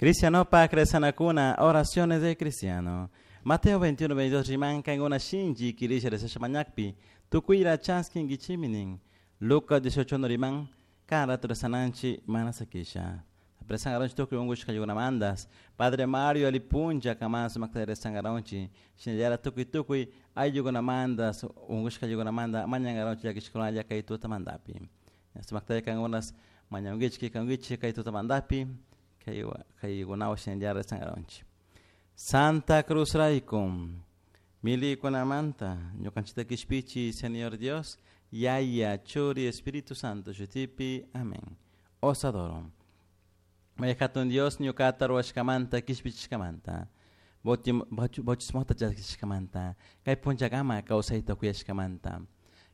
Cristianopak rezanakuna, oraciones de cristiano. Mateo 21, 22 riman kankuna shinchi kirisha rezasha mañakpi, tukuyra chaskinkichimi nin. Lucas 18 riman, kan rato rezananchi mana sakisha. Rezangaronchi tukuy unkushkaykunamantas. Padre Mario alipuncha kaman sumakta rezangaronchi. Shinallara tukuy tukuy ayllukunamantas, unkushkaykunamanta mañangaronchi llakishkunalla kay tutamantapi. Sumakta kankunas mañankichik kankichik kay tutamantapi. Kaykunawan shinallara rezangaronchi. Santa Cruz rayku, milikunamanta, ñukanchikta kishpichi, Señor Dios, Yaya, Churi, Espíritu Santo, shutipi, amén. Os adoro. May hatun Dios ñukata ruwashkamanta kishpichishkamanta, bautismota chaskishkamanta, kay punchakama kawsayta kuyashkamanta.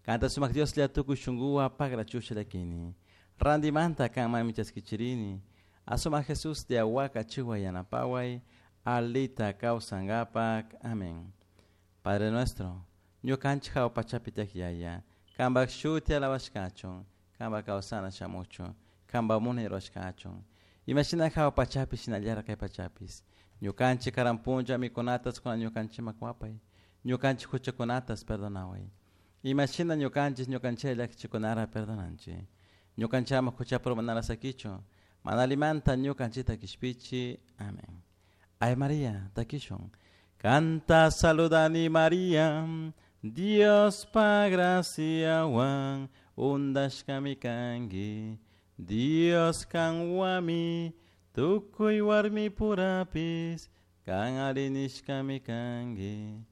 Kanta sumak Dioslla tukuy shunkuwan pagrachusha llakini. Randimanta kanmanmi chaskichirini. Asumak Jesus de awaka chiwa yanapaway, alita kawsankapak. Amén. Padre nuestro, ñukanchik hawa pachapi tiyak Yaya, kanpak shuti alabashkachun, kanpak kawsana shamuchun, kanpak munay rurashkachun. Imashina hawa pachapi shinallara kay pachapis. Ñukanchik karan punlla mikunatas kunan ñukanchikman kuwapay. Ñukanchik huchakunatas perdonaway. Imashina ñukanchik ñukanchik llakichikunara perdonanchik. Ñukanchikama huchapi urmanara sakichun. Mana allimanta ñukanchikta kishpichi. Amén. Ave María, takishun. Kanta saludani María, Diospa graciawan undashkami kanki. Dios kanwami, tukuy warmi purapis, kan alli nishkami kanki.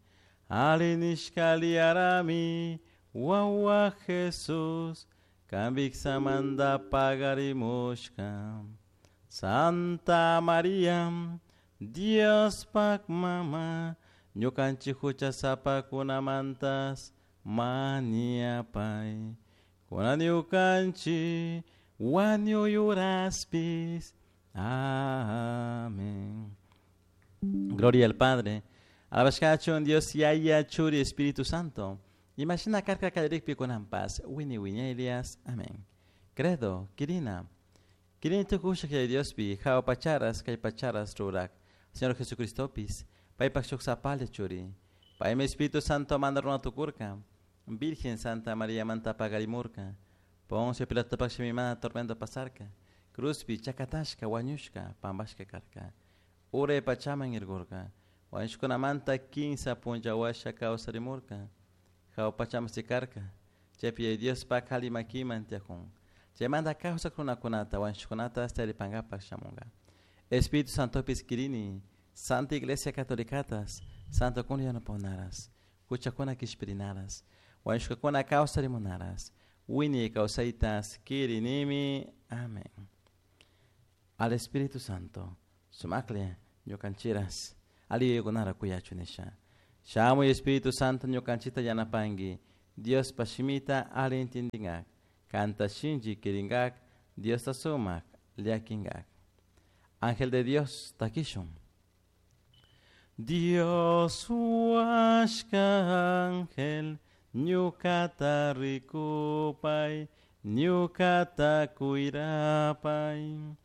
Alli nishka aliyarami, wawa Jesús, kan viksamanta pagarimushka. Santa María, Diospak mama, ñukanchik huchasapakunamantas mañapay. Kunan ñukanchik wañuy uraspis. Amén. Gloria al Padre. Alabashkachun Dios Yaya Churi Espíritu Santo. Imashina karka kallarikpi kunanpas wini wiñaylias. Amén. Credo, Kirina. Kirini tukushak Yaya Diospi, hawa pacharas, kay pacharas rurak. Señor Jesucristopis, paypak shuk sapalla churi. Paymi Espíritu Santo manda runa tukurka. Virgen Santa María manta pagarimurka. Poncio Pilato shimimana tormento pasarka. Cruzpi chakatashka wañushka pampashka karka. Uray pachaman irkurka. Wañushkunamanta kinsa punlla washa kawsarimurka. Hawa pachaman sikarka. Chaypi Yaya Diospak alli makiman tiyakun. Chaymanta kawsak runakunata wañushkunata taripankapak shamunka. Espíritu Santopis kirini, Santa Iglesia Catolicatas, Santo kuna yanapakunaras, huchakuna kishpirinaras, wañushkakuna kawsarimunaras, wiñay kawsaytas kirinimi. Amén. Al Espíritu Santo, sumakle ñukanchiras, alli yuyaykunara kuyachu nisha. Shamuy Espíritu Santo ñukanchita yanapanki, Diospa shimita alli entendingak, kanta shinchi kirinkak, Diosta sumak llakinkak. Ángel de Dios, takishun. Dios huashka ángel, ñukata rikupay, ñukata cuirapay.